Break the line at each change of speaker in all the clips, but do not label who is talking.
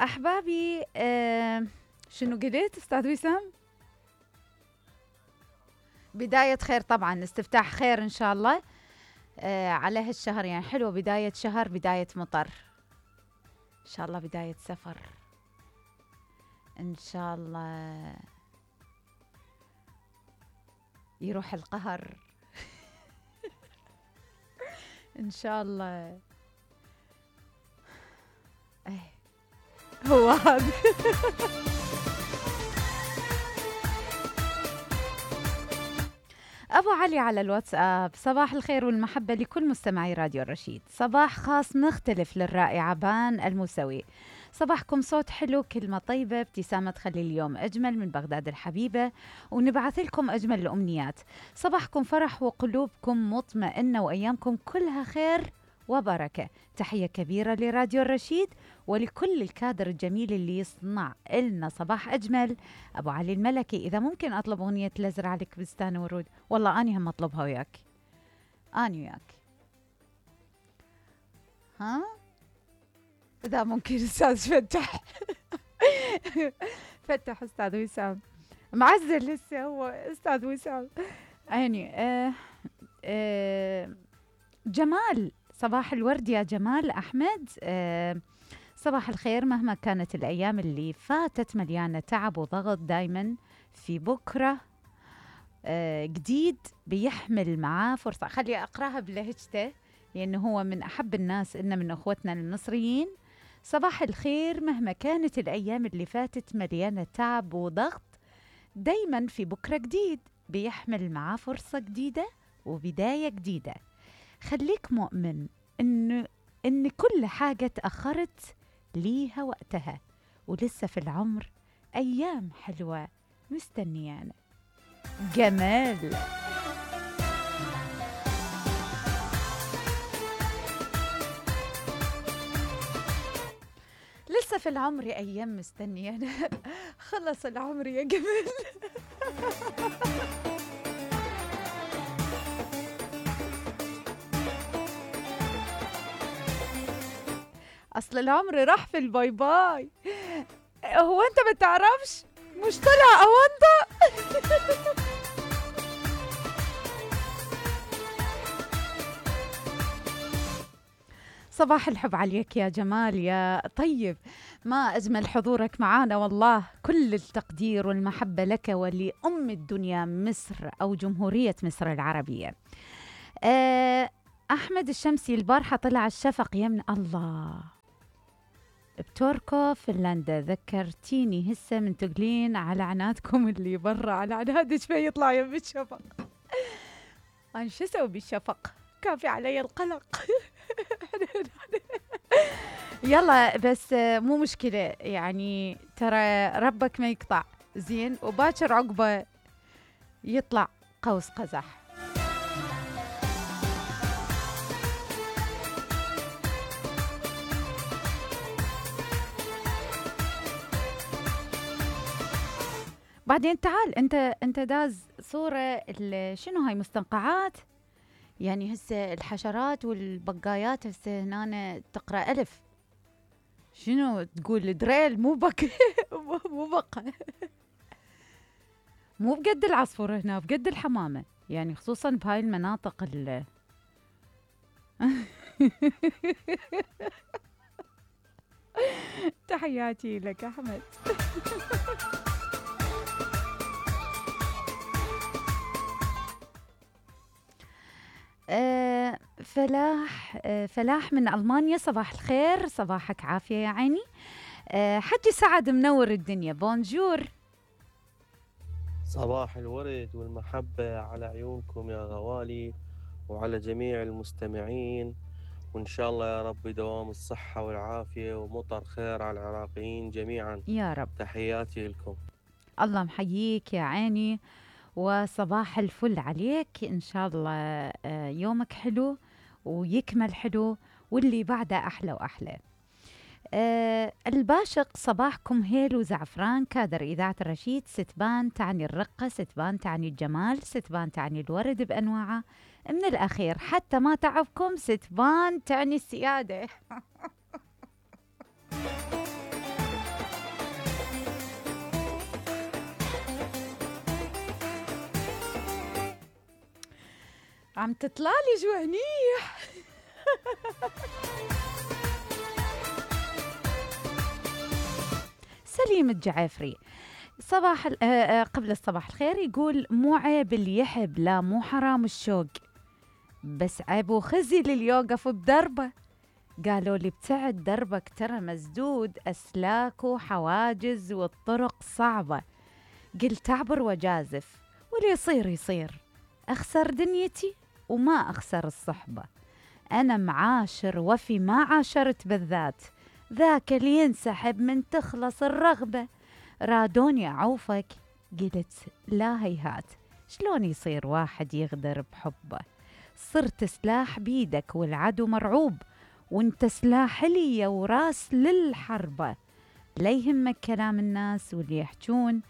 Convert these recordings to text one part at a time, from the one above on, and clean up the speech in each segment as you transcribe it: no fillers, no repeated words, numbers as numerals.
أحبابي، شنو قلت أستاذ وسام؟ بداية خير طبعا، استفتاح خير إن شاء الله. على هالشهر يعني حلو، بداية شهر، بداية مطر إن شاء الله، بداية سفر إن شاء الله، يروح القهر إن شاء الله. هو هذا أبو علي على الواتساب: صباح الخير والمحبة لكل مستمعي راديو الرشيد، صباح خاص مختلف للرائعة بان الموسوي، صباحكم صوت حلو، كلمة طيبة، ابتسامة تخلي اليوم أجمل من بغداد الحبيبة، ونبعث لكم أجمل الأمنيات، صباحكم فرح وقلوبكم مطمئنة وأيامكم كلها خير وبركة. تحية كبيرة لراديو الرشيد ولكل الكادر الجميل اللي يصنع لنا صباح أجمل. أبو علي الملكي: إذا ممكن أطلب أغنية لزرع لك بستان ورود. والله أني هم أطلبها وياك، أني وياك، ها إذا ممكن. أستاذ فتح فتح أستاذ وسام معزل لسه هو أستاذ وسام عيني. جمال: صباح الورد يا جمال أحمد. صباح الخير، مهما كانت الأيام اللي فاتت مليانة تعب وضغط، دايما في بكرة جديد بيحمل معاه فرصة. خلي أقرأها بلهجته لأنه هو من أحب الناس، إنه من أخوتنا المصريين. صباح الخير، مهما كانت الأيام اللي فاتت مليانة تعب وضغط، دايما في بكرة جديد بيحمل معاه فرصة جديدة وبداية جديدة. خليك مؤمن إن كل حاجة تأخرت ليها وقتها، ولسه في العمر أيام حلوة مستنيانا. جمال. لسه في العمر أيام مستنيانا خلص العمر يا جمال أصل العمر راح في الباي باي. هو أنت ما تعرفش؟ مش طلع أونطة صباح الحب عليك يا جمال يا طيب، ما أجمل حضورك معانا، والله كل التقدير والمحبة لك ولأم الدنيا مصر أو جمهورية مصر العربية. أحمد الشمسي: البارحة طلع الشفق يمن الله بتوركو فنلندا، ذكرتيني هسه من تقلين على عنادكم اللي برا، على عناد شوي يطلع يم الشفق. أنا شو أسوي بالشفق؟ كافي علي القلق يلا بس مو مشكلة، يعني ترى ربك ما يقطع زين، وباكر عقبه يطلع قوس قزح. بعدين تعال انت داز صورة شنو هاي مستنقعات، يعني هسه الحشرات والبقايات هسه هنا تقرأ ألف، شنو تقول دريل مو بق مو بقى مو بقد العصفور هنا، بقد الحمامة، يعني خصوصا بهاي المناطق تحياتي لك أحمد فلاح من ألمانيا: صباح الخير، صباحك عافية يا عيني. حجي سعد منور الدنيا: بونجور.
صباح الورد والمحبة على عيونكم يا غوالي وعلى جميع المستمعين، وإن شاء الله يا رب دوام الصحة والعافية ومطر خير على العراقيين جميعا
يا رب.
تحياتي لكم.
الله محييك يا عيني، وصباح الفل عليك، إن شاء الله يومك حلو ويكمل حلو واللي بعده أحلى وأحلى. الباشق: صباحكم هيل وزعفران، كادر إذاعة الرشيد، ستبان تعني الرقة، ستبان تعني الجمال، ستبان تعني الورد بأنواعه، من الأخير حتى ما تعبكم ستبان تعني السيادة عم تطلالي جوانيح. سليم الجعافري صباح قبل الصباح الخير يقول مو عيب اللي يحب، لا مو حرام الشوق، بس عيب وخزي اللي يوقف بدربه. قالوا لي ابتعد دربك ترى مسدود أسلاك وحواجز والطرق صعبة. قلت أعبر وجازف واللي يصير يصير، أخسر دنيتي وما أخسر الصحبة. أنا معاشر وفي ما عاشرت بالذات، ذاك اللي ينسحب من تخلص الرغبة. رادوني أعوفك قلت لا هيهات، شلون يصير واحد يغدر بحبه؟ صرت سلاح بيدك والعدو مرعوب، وانت سلاح لي وراس للحربة. لا يهمك كلام الناس واللي يحجون،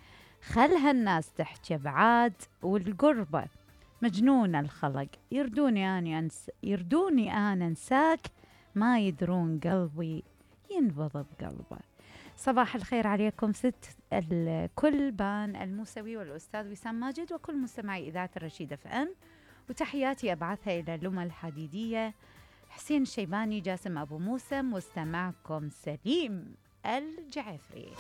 خلها الناس تحكي بعاد والقربة. مجنون الخلق يردوني أنا انساك، ما يدرون قلبي ينبض بقلبه. صباح الخير عليكم ست الكل، بان الموسوي والأستاذ وسام ماجد وكل مستمعي إذاعة الرشيدة FM، وتحياتي أبعثها إلى لمى الحديدية، حسين الشيباني، جاسم أبو موسى. مستمعكم سليم الجعفري.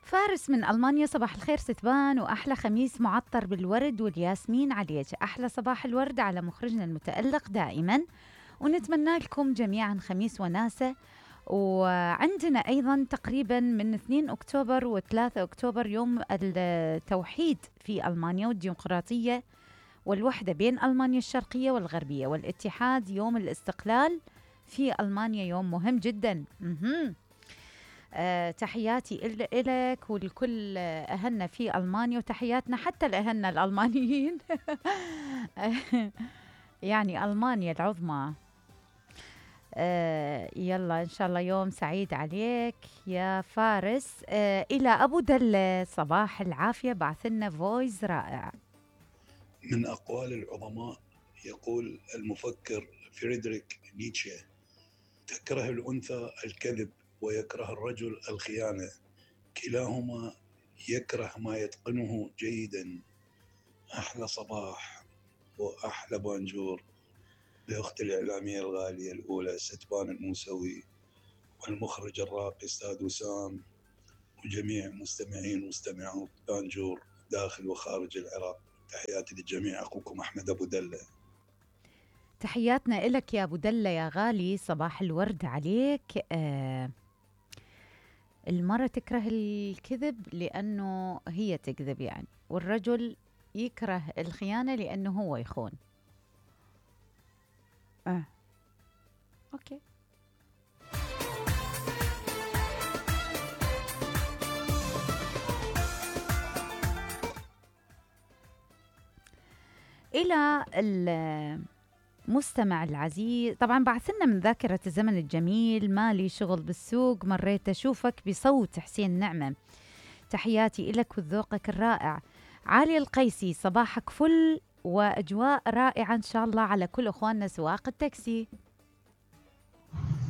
فارس من ألمانيا، صباح الخير ستبان وأحلى خميس معطر بالورد والياسمين عليك. أحلى صباح الورد على مخرجنا المتألق دائما، ونتمنى لكم جميعا خميس وناسة. وعندنا أيضا تقريبا من 2 أكتوبر و3 أكتوبر يوم التوحيد في ألمانيا والديمقراطية والوحدة بين ألمانيا الشرقية والغربية، والاتحاد يوم الاستقلال في ألمانيا، يوم مهم جدا. تحياتي إلك ولكل أهلنا في ألمانيا، وتحياتنا حتى لأهلنا الألمانيين. يعني ألمانيا العظمى. يلا إن شاء الله يوم سعيد عليك يا فارس. إلى أبو دلة، صباح العافية، بعثلنا فويس رائع.
من أقوال العظماء يقول المفكر فريدريك نيتشه: تكره الأنثى الكذب ويكره الرجل الخيانة، كلاهما يكره ما يتقنه جيدا. أحلى صباح وأحلى بانجور لأختي الإعلامية الغالية الأولى ستبان الموسوي، والمخرج الراقي أستاذ وسام، وجميع مستمعين ومستمعات بانجور داخل وخارج العراق. تحياتي للجميع، أخوكم أحمد أبو دلة.
تحياتنا إلك يا أبو دلة يا غالي، صباح الورد عليك. المرأة تكره الكذب لأنه هي تكذب يعني، والرجل يكره الخيانة لأنه هو يخون. أوكي. إلى المستمع العزيز، طبعا بعثلنا من ذاكرة الزمن الجميل، مالي شغل بالسوق مريت أشوفك بصوت حسين نعمة. تحياتي إلك وذوقك الرائع. علي القيسي، صباحك فل وأجواء رائعة إن شاء الله على كل أخواننا سواق التاكسي.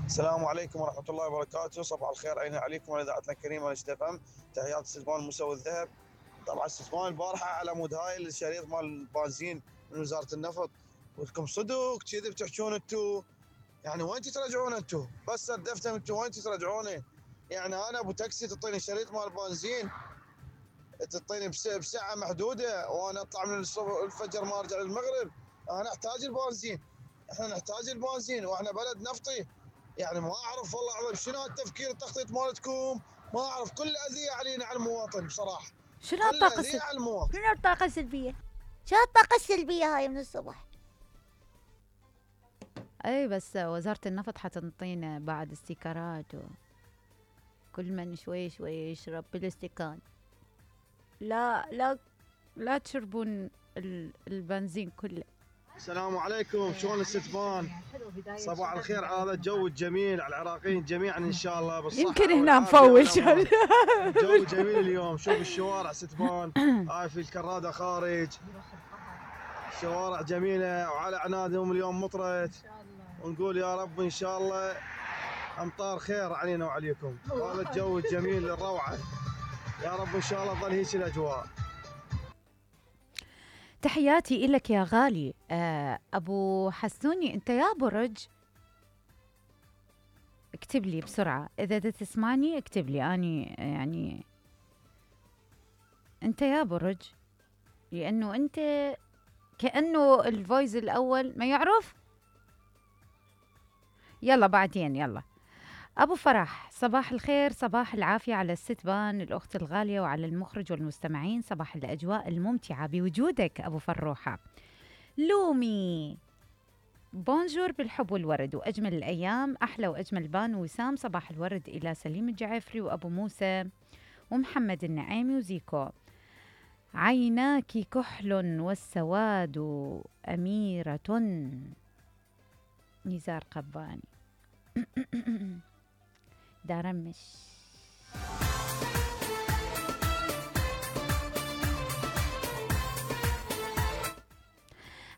السلام عليكم ورحمة الله وبركاته، صباح الخير علينا عليكم وعلى إذاعتنا الكريمة رشيدة FM. تحيات ستبان موسوي الذهب. طبعا ستبان البارحة على مود هاي الشريط مال البنزين من وزارة النفط، ولكم صدق كذي بتحجون انتو، يعني وين ترجعون انتو؟ بس سدفتم انتو وين ترجعونه؟ يعني انا ابو تاكسي تعطيني شريط مال البنزين، تعطيني بساعة محدودة، وانا اطلع من الفجر ما ارجع للمغرب. انا احتاج البنزين، احنا نحتاج البنزين واحنا بلد نفطي. يعني ما اعرف والله العظيم شنو التفكير التخطيط مالتكم، ما اعرف، كل اذية علينا على المواطن بصراحة.
شنو الطاقة السلبية؟
شو الطاقة السلبية هاي من الصبح؟
اي بس وزارة النفط حتنطينا بعد استيكرات، كل من شوي شوي يشرب بالاستكان. لا تشربون البنزين كله.
السلام عليكم، شلون الستبان؟ صباح الخير على هذا الجو الجميل، على العراقيين جميعا ان شاء الله بالصحة.
يمكن هنا نفول.
جو جميل اليوم، شوف الشوارع ستبان، هاي في الكرادة خارج، شوارع جميلة وعلى عنادهم اليوم مطرت، ونقول يا رب ان شاء الله امطار خير علينا وعليكم، وهذا الجو الجميل الروعه، يا رب ان شاء الله تظل هيك الاجواء.
تحياتي إلك يا غالي. أبو حسوني، أنت يا برج اكتب لي بسرعة، إذا تسمعني اكتب لي أني يعني أنت يا برج، لأنه أنت كأنه الفويس الأول ما يعرف. يلا بعدين يلا. أبو فرح، صباح الخير، صباح العافية على الستبان الأخت الغالية وعلى المخرج والمستمعين، صباح الأجواء الممتعة بوجودك أبو فروحة. لومي، بونجور بالحب والورد وأجمل الأيام، أحلى وأجمل بان وسام، صباح الورد إلى سليم الجعفري وأبو موسى ومحمد النعيمي وزيكو. عيناك كحل والسواد أميرة، نزار قباني. دارمش.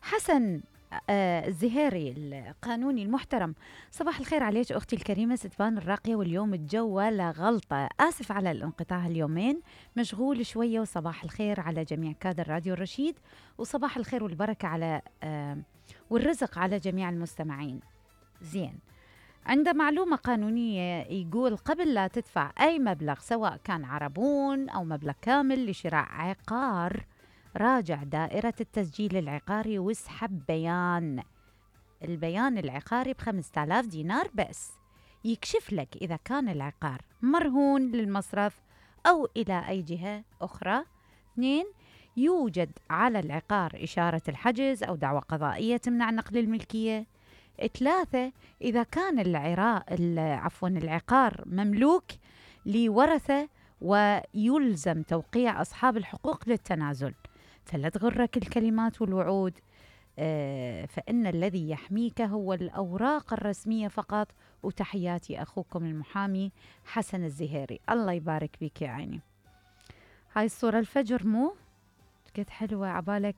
حسن الزهيري القانوني المحترم، صباح الخير عليك أختي الكريمة ستبان الراقية، واليوم الجو ولا غلطة، آسف على الانقطاع اليومين، مشغول شوية، وصباح الخير على جميع كادر راديو الرشيد، وصباح الخير والبركة على والرزق على جميع المستمعين. زين، عند معلومة قانونية يقول قبل لا تدفع أي مبلغ سواء كان عربون أو مبلغ كامل لشراء عقار، راجع دائرة التسجيل العقاري واسحب البيان العقاري ب5,000 دينار بس، يكشف لك إذا كان العقار مرهون للمصرف أو إلى أي جهة أخرى. 2، يوجد على العقار إشارة الحجز أو دعوى قضائية تمنع نقل الملكية. 3، إذا كان العقار مملوك لورثة ويلزم توقيع أصحاب الحقوق للتنازل، فلا تغرك الكلمات والوعود، فإن الذي يحميك هو الأوراق الرسمية فقط. وتحياتي أخوكم المحامي حسن الزهيري. الله يبارك بك يا عيني. هاي الصورة الفجر مو قد حلوة عبالك.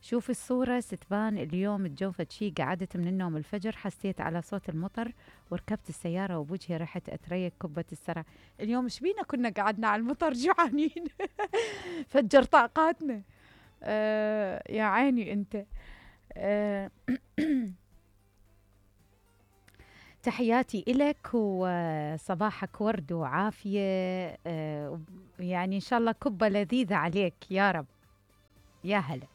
شوف الصورة ستبان اليوم الجو شي، قعدت من النوم الفجر، حسيت على صوت المطر وركبت السيارة وبوجهي رحت أتريق كبة السرع. اليوم شبينا كنا قعدنا على المطر جوعانين. فجر طاقاتنا. يا عيني أنت. تحياتي إلك وصباحك ورد وعافية، يعني إن شاء الله كبة لذيذة عليك يا رب. يا هلا.